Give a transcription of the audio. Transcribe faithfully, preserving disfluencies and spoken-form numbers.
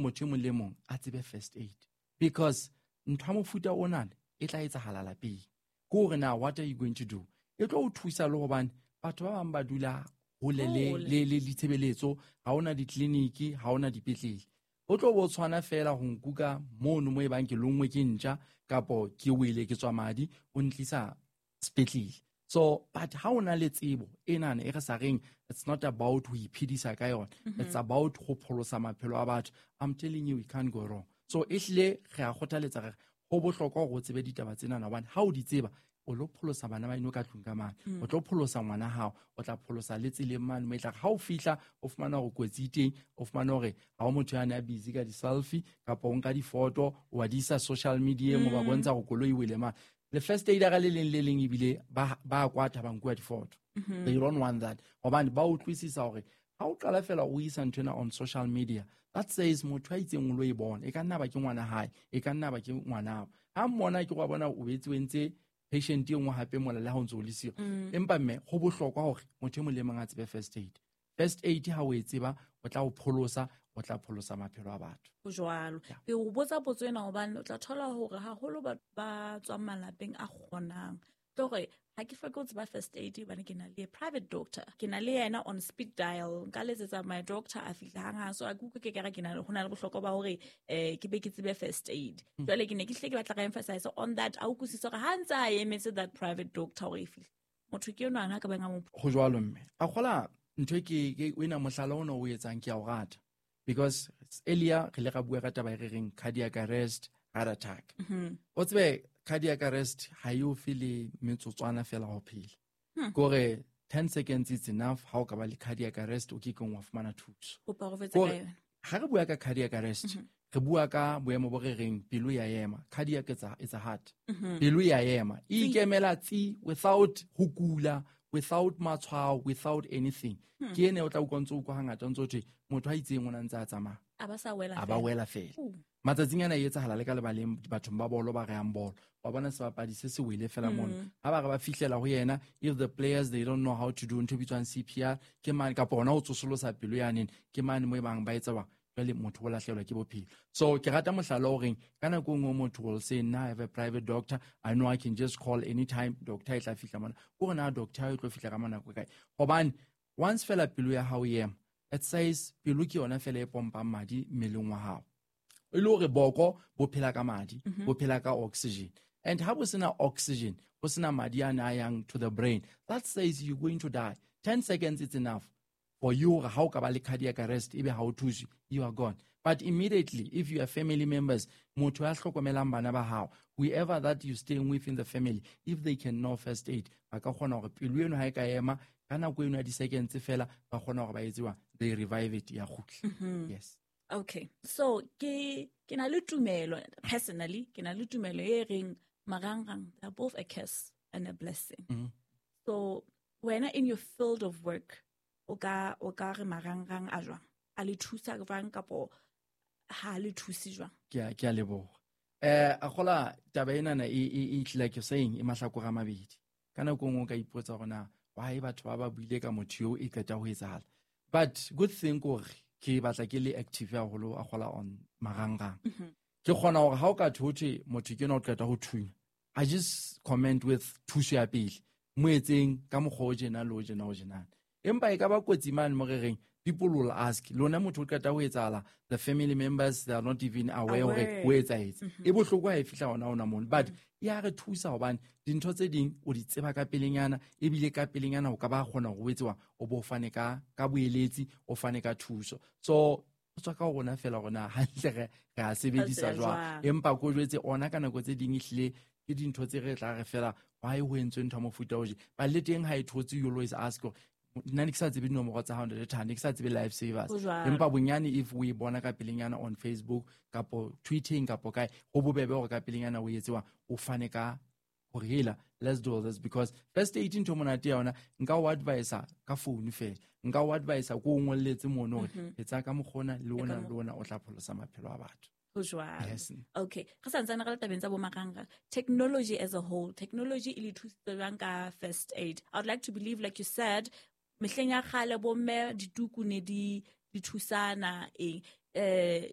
motho e mong le mong a tsebe first aid, because ntho ya mofuta onana e tla etsahala lapeng. Ke hore na what are you going to do? E tlo o thusa le hobane batho ba bang ba dula hole le, le, le ditshebeletso, ha hona ditleliniki, ha hona dipetlele. O tlo bo tshwana fela ho nkuka mono mo e bang ke lonngwe ke ntja kapo ke wele ke tswa madi, o ntlisa sepetlele. So, but ha o na le tsebo enana e re sa reng, it's not about ho iphedisa ka yona, Mm-hmm. it's about ho pholosa maphelo a batho. I'm telling you, we can't go wrong. So ehlile re a kgothaletsa re ho bohlokwa hore o tsebe ditaba tsenana, hobane ha o di tseba o lo pholosa bana ba eno ka tlung ka mane, Mm. o tlo pholosa ngwana hao, o tla pholosa le tseleng mane mo e tla re ha o fihla o fumana hore kotsi e teng, o fumana hore ha o motho ya ne a busy ka di-selfie kapa o nka difoto o wa di isa social media-eng, o ba Mm. bontsha hore koloi e wele mane. Le first aid ka le leng le leng ebile ba, ba kwata ba nkuwa difoto. Mm-hmm. They don't want that. Hobane ba utlwisisa hore ha o qala fela o isa ntho ena on social media, that says motho a itseng o lo e bona, e ka nna ba ke ngwana hae, e ka nna ba ke ngwanao. Ha mmona ke wa bona o betse o entse patient e nngwe hape mola le ha o ntso o le siyo. Mm. Empa mme ho bohlokwa hore motho e mong le mong a tsebe first aid. First aid ha o e tseba, o tla o pholosa, o tla pholosa maphelo a batho. Ho jwalo. Yeah. Ke o botsa potso ena hobane o tla thola hore haholo batho ba tswang malapeng a kgonang. Ke hore ha ke hloke ho tseba first aid hobane ke na le private doctor. Ke na le yena on speed dial. Nka letsetsa my doctor a fihla hanghang. So a ke utlwe ke kere ke na le, ho na le bohlokwa ba hore, eh, ke be ke tsebe first aid. Hmm. Jwale ke ne ke hlile ke batla re emphasize on that. A utlwisise hore ha ntse a emetse that private doctor hore e fihle, motho ke enwa a ka bang a mo Ho jwalo mme. A kgola ntho e ke, ke o ena mohlala ona o etsang ke a o rata. Because earlier re ile ra bua ka taba e re reng cardiac arrest, heart attack. Mm-hmm. O tsebe cardiac arrest ha e o fe le metsotswana fela ho phela. Hmm. Ke hore ten seconds is enough ha o ka ba le cardiac arrest o ke keng wa fumana thuso. Kopa ho fetsa Ke hore ka yona. ha re bua ka cardiac arrest, Mm-hmm. re bua ka boemo bo re reng pelo ya ema. Cardiac is a, is a heart. Mm-hmm. Pelo ya ema. E Tsi. ikemela tsi without ho kula, without matshwao, without anything. Hmm. Ke ene o tla utlwa ntse o utlwa hangata ntse o thwe motho a itseng o na ntse a tsamaya. A ba sa wela A ba fela. wela fela. Ooh. Matsatsing ana e etsahala le ka lebaleng bathong ba bolo ba rehang bolo. Wa bona sebapadi se se wele fela mono. Mm. Ha ba re ba fihlela ho yena, if the players they don't know how to do ntho e bitswang C P R, ke mane kapa hona ho tsosolosa pelo yanene, ke mane mo e bang ba etsa ba jwale motho o lahlehelwa ke bophelo. So ke rata mohlala o reng ka nako e nngwe motho will say nna I have a private doctor, I know I can just call anytime, doctor e tla fihla mona. O re na doctor e tlo fihla ka nako e kae? Hobane once fela pelo ya hao e ema, it says pelo ke yona fela e pompang madi mmeleng wa hao. E le hore boko bo phela ka madi, Mm-hmm. bo phela ka oxygen. And ha bo sena oxygen, bo sena madi a na yang to the brain, that says you're going to die. ten seconds is enough for you. Ha o ka ba le cardiac arrest, ebe ha o thuswe, you are gone. But immediately, if you are family members, motho ya hlokomelang bana ba hao, whoever that you staying with in the family, if they can know first aid, ba ka kgona hore pelo eno ha e ka ema, ka nako eno ya di-seconds fela, ba kgona hore ba etse jwang? They revive it, ya kgutla. Mm-hmm. Yes. Okay. So, ke, ke na le tumelo, personally, ke na le tumelo e reng marangrang, they're both a curse and a blessing. Mm-hmm. So, wena in your field of work, o ka, o ka re marangrang a jwang? A le thusa jwang kapo ha le thuse jwang? Ke a, ke a leboha. Eh, a kgola taba enana e, e, e tlile ke saying e mahlakore a mabedi. Ka nako e nngwe o ka ipotsa hore na why batho ba ba buile ka motho eo e qeta ho etsahala. But good thing ke hore ke batla ke le active haholo a kgola on marangrang. Mm-hmm. Ke kgona hore ha o ka thwe ho thwe motho ke enwa o qeta ho thunya, I just comment with thuso ya pele. Mo etseng ka mokgwa o tjena le o tjena o tjena. Empa e ka ba kotsi mane mo re reng, people will ask, lona motho o qeta ho etsahala, the family members, they are not even aware hore Aware. ho etsahetse. Mm-hmm. E bohloko ha e fihla hona hona mono. But Mm-hmm. e a re thusa hobane dintho tse ding o di tseba ka pelenyana, ebile ka pelenyana o ka ba kgona hore o etse wa, o bo fane ka, ka boeletsi, o fane ka thuso. So, ho tswa ka ho rona fela hore na hantle re, re a sebedisa Re a jwang. jwang. Empa ko jwetse ona ka nako tse ding ehlile ke dintho tse re tla re fela, why ho entswe ntho ya mofuta o je. But le teng ha e thotse, you always ask hore nna ne ke sa tsebe dinomoro tsa hao, Ntate Thando, ne ke sa tsebe life savers. Ho jwalo. Empa bonyane if o e bona ka pelenyana on Facebook kapo tweeting kapo kae, ho bobebe hore ka pelenyana o etse wa, o fane ka hore hela, let's do this, because first aid ntho monate ya yona, nka o advisa ka phone fela, nka o advisa ko o ngolletse mono hore Mm-hmm. etsa ka mokgona le ona Ka le ona o tla pholosa maphelo a batho. Ho jwalo. Yes. Okay. Re santsane re le tabeng tsa bo marangrang. Technology as a whole, technology e le thusitse jwang ka first aid? I would like to believe, like you said, mehleng ya kgale bo mme dituku ne di, di thusana eng. Eh,